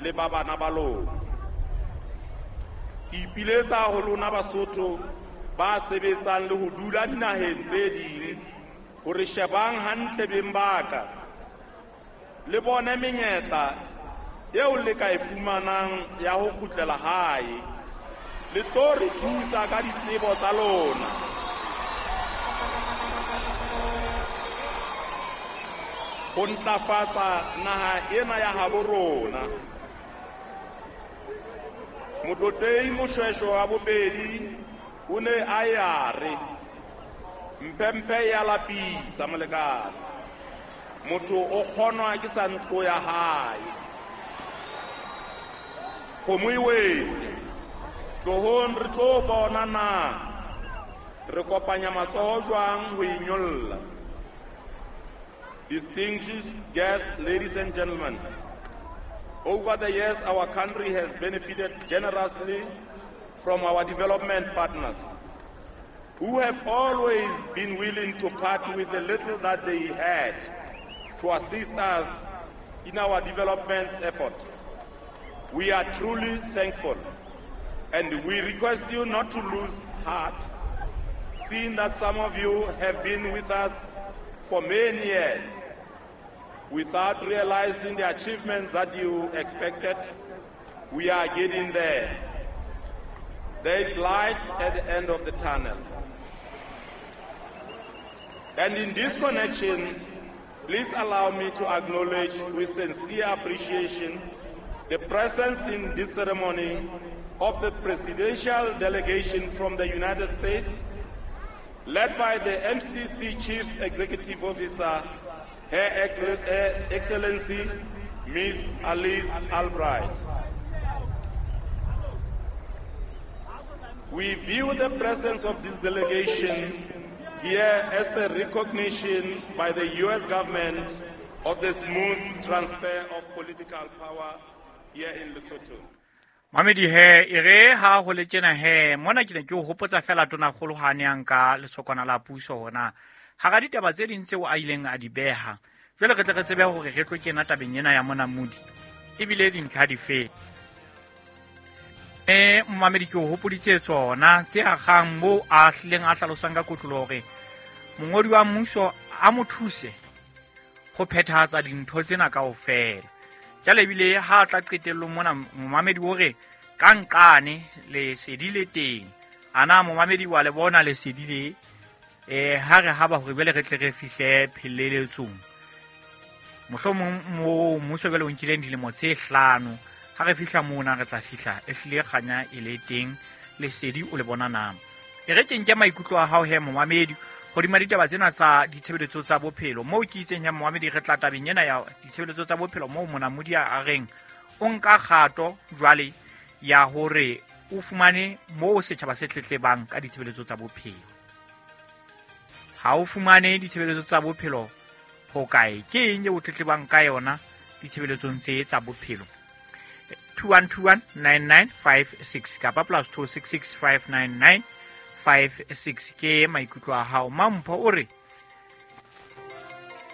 le ba bana ba lona. Ke ipiletsa ho lona Basotho ba sebetsang le ho dula dinaheng tse ding hore shebang hantle beng ba ka le bone menyetla eo le ka e fumanang ya ho kgutlela hae. Le tlo re thusa ka ditsebo tsa lona. Ho ntlafatsa naha ena ya habo rona. Motlotlehi Moshoeshoe wa bobedi o ne a ya re mpempe ya lapisa molekane. Motho o kgonwa ke sa ntlo ya hae. Kgomo e wetse. Tlohong re tlo bona na re kopanya matsoho jwang ho e nyolla. Distinguished guests, ladies and gentlemen, over the years our country has benefited generously from our development partners, who have always been willing to part with the little that they had to assist us in our development effort. We are truly thankful, and we request you not to lose heart, seeing that some of you have been with us for many years without realizing the achievements that you expected. We are getting there. There is light at the end of the tunnel. And in this connection, please allow me to acknowledge with sincere appreciation the presence in this ceremony of the presidential delegation from the United States, led by the MCC Chief Executive Officer, Her Excellency, Ms. Alice Albright. We view the presence of this delegation here as a recognition by the U.S. government of the smooth transfer of political power here in Lesotho. Mamedi he, e re ha ho le tjena he, mona ke ne ke o hopotsa fela tonakgolo ha ne a nka lesokwana la puso hona. Hara ditaba tse ding tseo a ileng a di beha. Jwale re tle re tsebe hore re tlo kena tabeng ena ya monamodi. Ebile dintlha di fe. Mamedi ke o hopoditse tsona tse akgang moo a hlileng a hlalosang ka kotloloho hore mongodi wa mmuso a mo thuse ho phethahatsa dintho tsena kaofela. Jwale ebile ha tla qetellong mona momamedi o re ka nqane lesedi le teng. Ana momamedi wa le bona lesedi le, ha re haba hore jwale re tle re fihle pheleletsong. Mohlomong mo mmuso jwale o nkileng dilemo tse 5, ha re fihla mona re tla fihla e hlile kganya e le teng, lesedi o le bona na. E re ke nke maikutlo a hao he momamedi hodima ditaba tsena tsa ditshebeletso tsa bophelo. Moo ke itseng ya momamedi re tla tabeng ena ya ditshebeletso tsa bophelo moo monamodi a reng o nka kgato jwale ya hore o fumane moo setjhaba se tletlebang ka ditshebeletso tsa bophelo. Ha o fumane ditshebeletso tsa bophelo ho kae? Ke eng eo o tletlebang ka yona ditshebeletsong tse tsa bophelo? 21219956 kapa +266 599 56 ke maikutlo a hao. Mampho o re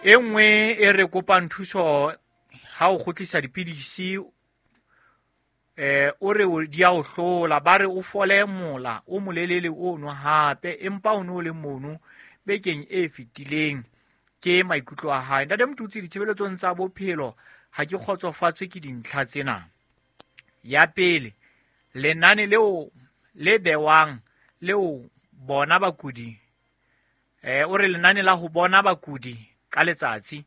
e nngwe e re kopang thuso ha o kgutlisa dipidisi, o re di a o hlola, ba re o fole mola o molelele o nwa hape, empa o no le mono bekeng e fetileng. Ke maikutlo a hae. Ntate Motutsi, ditshebeletsong tsa bophelo ha ke kgotsofatswe ke dintlha tsena. Ya pele, lenane leo le bewang leo bona bakudi, o re lenane la ho bona bakudi ka letsatsi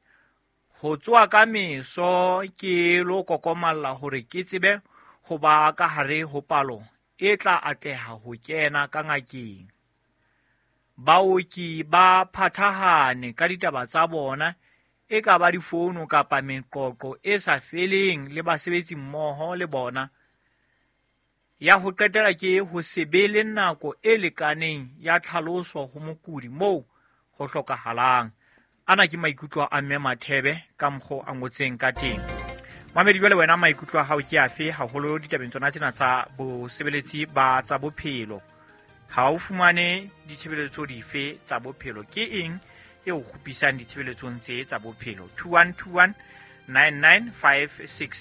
ho tswa ka meso ke lo kokomalla hore ke tsebe ho ba ka hare ho palo e tla atleha ho kena ka ngakeng. Baoki ba phathahane ka ditaba tsa bona, e ka ba difounu kapa meqoqo e sa feleng le basebetsi mmoho le bona. Ya ho qetela ke ho se be le nako e lekaneng ya tlhaloso ho mokudi moo ho hlokahalang. Ana ke maikutlo a Mme Mathebe ka mokgo a ngotseng ka teng. Mamedi, jwale wena maikutlo a hao ke afe haholo ditabeng tsona tsena tsa bosebeletsi ba tsa bophelo? Ha o fumane ditshebeletso dife tsa bophelo? Ke eng e o kgupisang ditshebeletsong tse tsa bophelo? 21219956.